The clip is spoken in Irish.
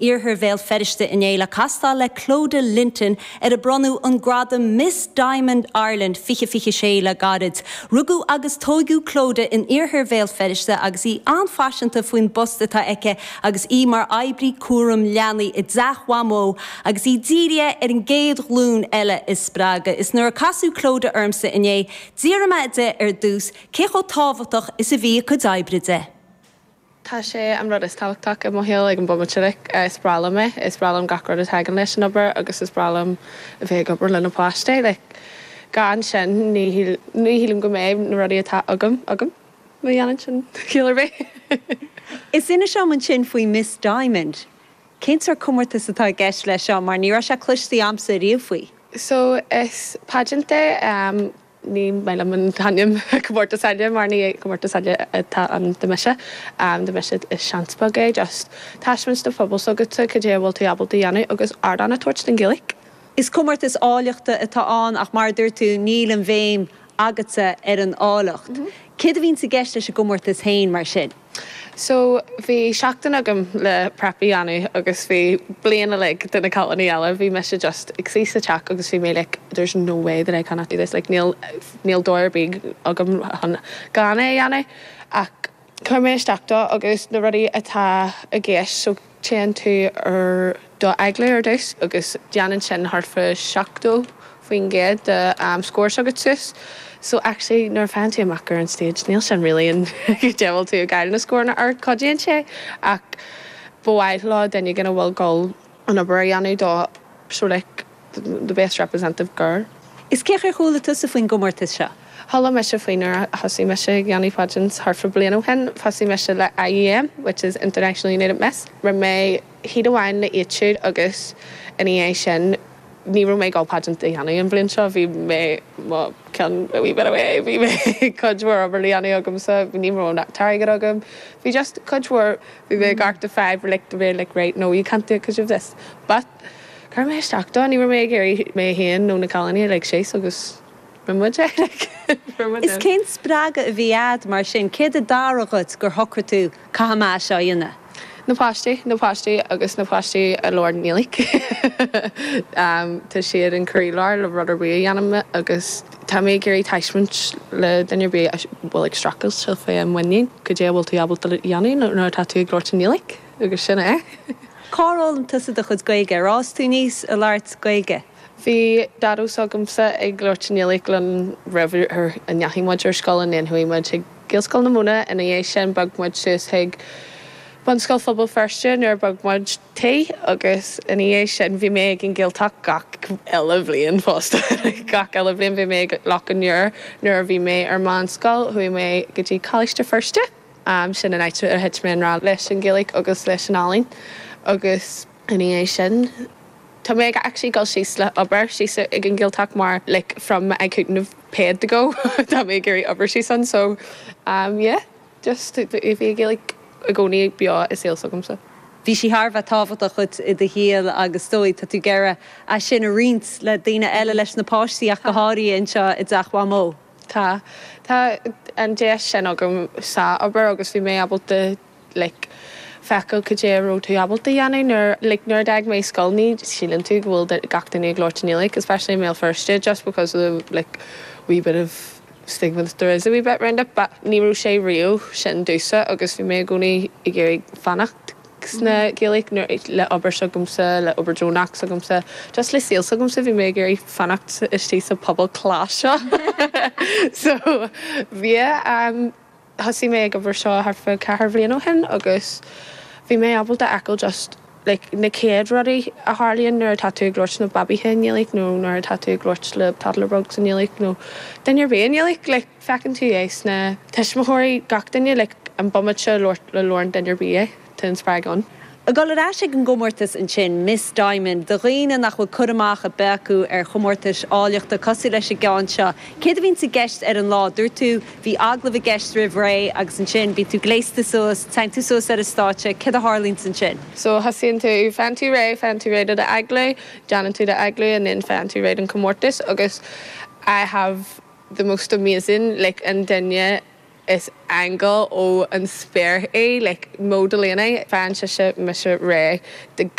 Iarthar Bhéal Feirste inné le castáil le Clodagh Linton ar a bronnadh an gradam Miss Diamond Ireland 2026 le gairid. Rugadh agus tóigeadh Clodagh in Iarthar Bhéal Feirste agus í an-phaiseanta faoin bpost atá aici agus í mar oibrí cúram leanaí i dteach Mhamó agus í dírithe ar an gcéad ghlúin eile a spreagadh. Is nuair a casadh Clodagh ormsa inné, d'fhiafraigh mé di ar dtús cé chomh tábhachtach is a bhí a cuid oibre di. Tá sé an rud is tábhachtach i mo shaol ag an bomaite like. Is breá liom é. Is breá liom gach rud a thagann leis an obair agus is breá liom a bheith ag obair le na páistí. Like gan sin ní ní shílim go mbeidh na rudaí atá agam agam, má dhéanann sin ciall ar bith. Is inis dom ansin faoi Miss Diamond. Cén sórt comórtas atá i gceist leis seo mar ní raibh sé cloiste a'msa riamh faoi. So is pageant é. Ní maith liom an t-ainm comórtas áille mar ní comórtas áille atá ann do mise. Do mise is seans beag é just taispeáint do phobal s'agatsa cad é a bhfuil tú ábalta a dhéanamh agus ardán a tabhairt don Ghaeilge. Is comórtas áilleachta atá ann ach mar a dúirt tú níl an bhéim agatsa ar an áilleacht. Céard a bhíonns i gceist leis an gcomórtas féin mar sin? So, bhí seachtain agam le prep a dhéanamh agus bhí bliain uilig de na cailíní eile, bhí mise just ag suí sa teach agus bhí mé like there's no way that I cannot do this, like níl, níl dóigh ar bith agam chun gan é a dhéanamh ach chuir mé isteach dó agus na rudaí atá i gceist so téann tú ar do agallamh ar dtús agus déanann sin thart fá 70% de scór s'agat suas. So actually nuair a faigheann tú amach ar an stage níl sin really an cad é a bhfuil tú ag gail na scóranna ar, cuidíonn sé ach ba mhaith leo duine éigin a bhfuil goil an obair a dhéanamh dó so like the best representative girl. Is cén chaoi ar chuala tusa faoin gcomórtas seo? Chuala mise faoi nuair a thosaigh mise ag dhéanamh pageants thart fá bliain ó shin. Thosaigh mise le IUM, which is International United Miss. Rinne mé heat amháin le iad siúd agus ina dhiaidh sin ní raibh mé ag dul pageant a dhéanamh an bhliain seo. Bhí mé mo cheann a wee bit away, bhí mé cuid mhór obair le dhéanamh agamsa, ní raibh an t-airgead agam. Bhí just cuid mhór, bhí mé ag amharc do fadhb like to be like right no you can't do it because you've this. But chuir mé isteach dó, ní raibh mé ag iarraidh mé féin nó na cailíní a lig síos agus rinne muid é like rinne muid Is é. cén spreagadh a bhí a'd mar sin? Céard a d'athraigh dhuit gur shocraigh tú caithfidh mé é seo a dhéanamh? Na páistí, na páistí agus na páistí a labhrann Gaeilge. Tá siad an croílár le rud ar bith a dhéanaim agus tá mé ag iarraidh taispeáint le duine ar bith a bhfuil ag streachailt fé an muinín cad é a bhfuil tú ábalta a dhéanamh nuair atá tú ag labhairt i nGaeilge agus sin é. Cár fhoghlaim tusa do chuid Gaeilge? Ar fhás tú aníos ag labhairt Gaeilge? Bhí Daideo s'agamsa ag labhairt i nGaeilge linn roimh a ndeachaigh muid ar scoil and then chuaigh muid chuig Gaelscoil na Móna ina dhiaidh sin bhog muid suas chuig Bunscoil Phobal Feirste nuair a bhog muid tí agus ina dhiaidh sin bhí mé ag an Ghaeltacht gach uile bhliain fosta gach uile bhliain bhí mé ag Loch an Iúir nuair a bhí mé ar meánscoil chuaigh mé go dtí Coláiste Feirste sin an áit ar thit mé i ngrá leis an Ghaeilge agus leis an ealaín agus ina dhiaidh sin Tá mé ag actually dul síos le obair síos ag an Ghaeltacht mar like from I couldn't have paid to go tá mé ag iarraidh obair síos ann so um yeah just bhí an Ghaeilge i gcónaí beo i saol s'agamsa. Bhí sí thar a bheith tábhachtach dhuit i do shaol agus is dóigh tá tú ag iarraidh é sin a roinnt le daoine eile, leis na páistí ach go háirithe anseo i dteach Mhamó. Tá. Tá an deis sin agam sa obair agus bhí mé ábalta like feiceáil cad é a raibh tú ábalta a dhéanamh nuair like nuair a d'fhág mé scoil ní síleann tú go bhfuil gach duine ag labhairt i nGaeilge especially i mBéal Feirste just because of the like wee bit of stigma that there is a wee bit round it but ní raibh sé riamh sin domhsa agus bhí mé i gcónaí ag iarraidh fanacht sna Gaeilge nuair le obair s'agamsa le obair deonach s'agamsa just le saol s'agamsa bhí mé ag iarraidh fanacht istigh sa pobal class seo so yeah um Thosaigh mé ag obair seo thart fá ceathair bhliain ó shin agus bhí mé ábalta fheiceáil just like na chéad rudaí a tharlaíonn nuair atá tú ag labhairt le babaithe i nGaeilge nó nuair atá tú ag labhairt le toddler bugs i nGaeilge nó duine ar bith i nGaeilge like feiceann tú é sna tuismitheoirí gach duine like an bomaite a labhrann duine ar bith é. Tá an spreagadh ann. Ag dul ar ais ag an gcomórtas ansin, Miss Diamond, do dhaoine nach bhfuil cur amach ar bith acu ar chomórtais áilleachta cosúil leis an gceann seo, céard a bhíonns i gceist ar an lá? Dúirt tú, bhí agallamh i gceist roimh ré agus ansin bíonn tú gléasta suas, téann tú suas ar an stáitse, céard a tharlaíonns ansin? So thosaíonn tú, faigheann tú réidh, faigheann tú réidh do d'agallamh, déanann tú d'agallamh and then faigheann tú réidh don chomórtas agus I have the most amazing like an duine. Is aingeal ó an spéir í, like Mo Delaney. Faigheann sise mise réidh do.